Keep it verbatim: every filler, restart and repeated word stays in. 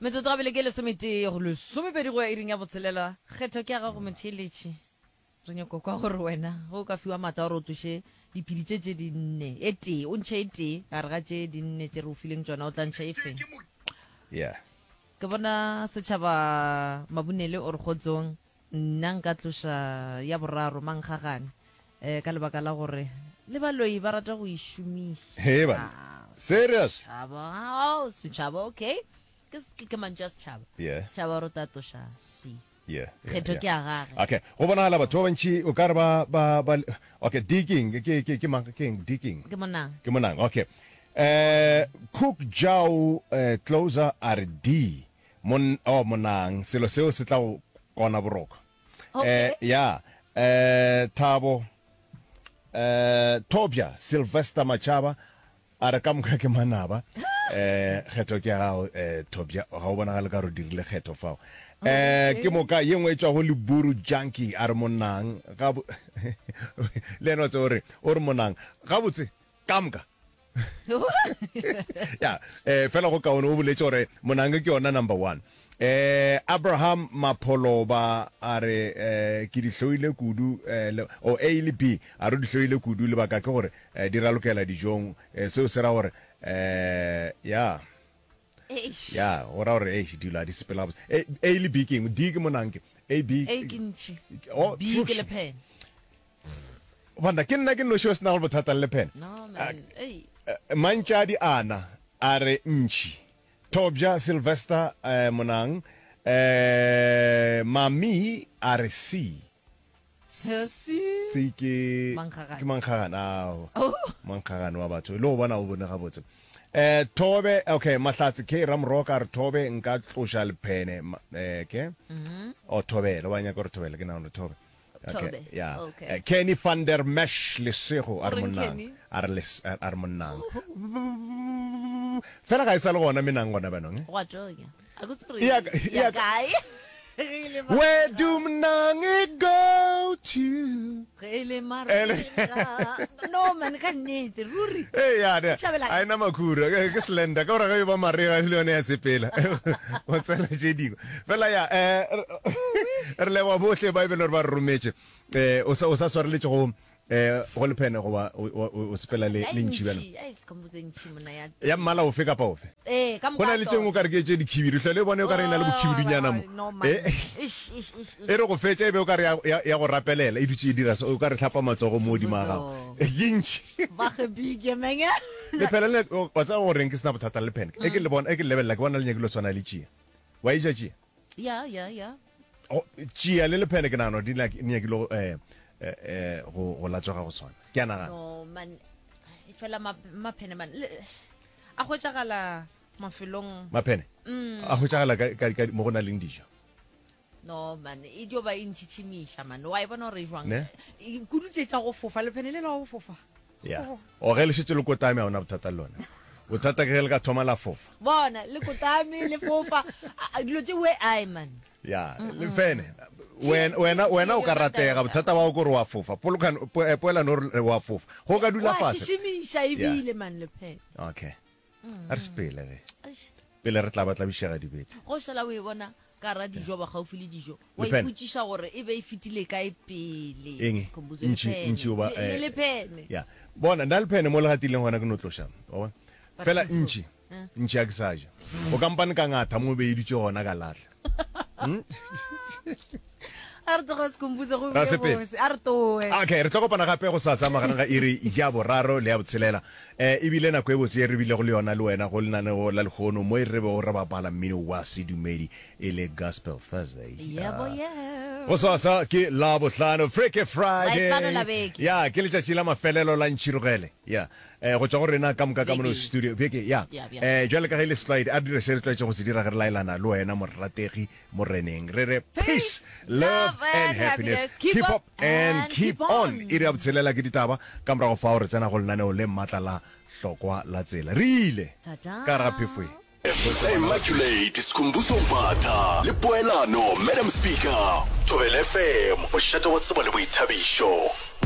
Metsotso gabele ke lesometee go lesomepedi go ya iring ya botshelela. Kgetho ke ya gago, motheeletši. Re nyako kwa gore wena ge o ka fiwa maatla a gore o tloše diphedi tše tše dinne, e tee, o ntšhe e tee gare ga tše dinne tše re o fileng tšona, o tla ntšha e feng? Yeah. Ke bona setšhaba Mabunele o re kgotsong, nna nka tloša ya boraro, Mankgagane, eh, ka lebaka la gore le baloi ba rata go e šomiša. Hee banna. Serious? Setšhaba, oh, setšhaba, okay. Ke, ke, ke mantšu a setšhaba. Yeah. Setšhaba o re tla tloša C. Yeah, yeah, Kgetho yeah. ke ya gage. Okay, go bonagala batho ba bantši o ka re ba, ba, ba, okay, D ke eng? Ke, ke, ke mang, ke eng? D ke eng? Ke monang. Ke monang, okay. Eh, Cook Jau eh, Closer a re D, mon, oh, monang, selo seo se tla go kona boroko. Okay. Eh, ya, eh, Thabo, eh, Thobja Sylvester Machaba a re ka moka ke manaba. Eh, kgetho ke ya gago, eh, Thobja, ga o bonagale ka re o dirile kgetho fao. Eh, ke moka ye nngwe e tšwa go Leburu Junkie a re monang ga bo le yena o tseba o re o re monang gabotse ka moka. Ya, eh, fela go kaone o boletše gore monang ke yona number one. Eh, Abraham Mapholoba a re eh, ke di hloile kudu eh, le, oh, A le B a re o di hloile kudu lebaka ke gore eh, di ralokela dijong eh, seo se ra gore eh, ya Eish. ya go ra gore eish dilo a di sepela gabotse. A, A le B ke eng? D ke monang ke A B A ke ntšhi. Oh, B ke lephene. Banna ke nna ke nnoši o se nago bothata le lephene. No man. Ei. Eh, Mantšadi ana a re ntšhi. Thobja Sylvester eh, Monang eh, Mami a re C. C ke Mankgagane. ke mankgagane ao. Oh. Mankgagane wa batho le go bona o bone gabotse. Eh Thobe okay Mahlatse K Ramoroka a re Thobe nka tloša lephene ma- eh ke o Thobela wa nyaka gore Thobela ke nagana Thobe. Okay, Thobe, yeah. okay. Eh, Kenny van der Mesh Lesego a re O reng monnang Kenny? a re les- a re monnang. Fela ga e sa le gona menang gona banong. Eh? Go a tonya. A ko tsore. E ya- e Ya ya- kae? Ge e le ma- Where do mnang go to? Ge e le Ele- marega. No man ka nnete ruri. Ee, ya, ne, Tšhabela a ena makhura ke ke slender ka gore ge e ba marega le yone ya sepela go tsena tše dingwe fela ya eh, re leboga bohle ba e bele gore ba re rometše um o sa o sa swareletše go um go lephene goba o- o o sepela le Ai le ntšhi bjalo ntšhi. Ai sekhomotse ntšhi monna ya. ya mmala ofe kapa ofe Eh ka go na le tše nngwe o ka re ke tše dikhibidu hlole e bone o ka re e na le bokhibidunyana mo No man. Eh, Ish ish ish. e re go fetša e be o ka re ya- ya ya go rapelela e dutše e dira so o ka re hlapa matsogo mo godimo ga gago Mmuso. ke ntšhi Ba ge big man. Lephela le o wa tseba gore ke sena bothata le lephene. E ke le bona e ke le lebelela ke bona le nyakile go tshwana le tšia. Wa e ja tšia? Ya ya ya. Go tšia le lephene ke nagana gore di nyaki- di nyakile go eh eh, eh, go go latswega go swana. Ke a nagana. No man. Fela ma maphene man. Le- A hwetšagala mafelong. Maphene a hwetšagala ka, ka, ka mo go na leng dijo. No man, e dio ba e ntšhitšhimiša man. Wa e bona gore e jwang? Ne? E- Kudu tše tša go fofa lephene le la go fofa. Ya. O ge le šetše le kotame ha ona bothata le lona. Bothata ke ge le ka thoma la fofa. Bona le kotame le fofa. A- a- Dilo tše we ai man. Ya, lephene. Wena wena wena o ka ratega bothata ba go ke gore wa fofa. Polokano po- eh, poelano o re wa fofa. Go ka dula Wa fase. šišimiša ebile man lephene. Okay. A re sepele ge. Eish. Pele re tla ba tlabišega dibete. Go šala o e bona ka ra dijo ba gaufi le dijo wa Lephene. ipotšiša gore e be e fetile kae pele. Eng? Sikhumbuzo, Ntšhi lephene. ntšhi o ba Le- le eh, lephene. Ya. Bona nna lephene mo le gatileng gona ke no tloša. Wa bona? Fela ntšhi ntšhi a ke sa ja. O kampane ka ngatha mo be e dutše gona ka lahla. A re tloge Sikhumbuzo go Ra bile sepela. bose. A re toe. Okay, re tlo kopana gape go sasa magareng ga iri ya boraro le ya botshelela. Eh, ebile nako e botse e re bilego le yona le wena go lenaneo la lehono mo e re bego re bapala mmino wa sedumedi e le Gospel Thursday. Yebo yebo. Go sasa ke Labohlano, Freaky Friday. Laetlano la beke. Ya, ke letšatši la mafelelo la ntšhirogele. Ya. Eh, go tšwa go rena ka moka ka mono Beke. studio. Beke, ya. Ya, ya. Eh, jwale ka ge e le setlwaedi, a re dire se re tlwaetše go se dira ge re laelana le wena morategi moreneng. Re re peace, love and happiness. Keep up and keep on. Iri ya botshelela ke ditaba. Ka morago fao re tsena go lenaneo le matla la hlokwa la tsela. Re ile Ta-ta. ka gare ga phefo ye. Immaculate Skhumbuzo Mbatha le Poelano Madam Speaker. Thobela F M, mošate wa tsebo le boithabišo.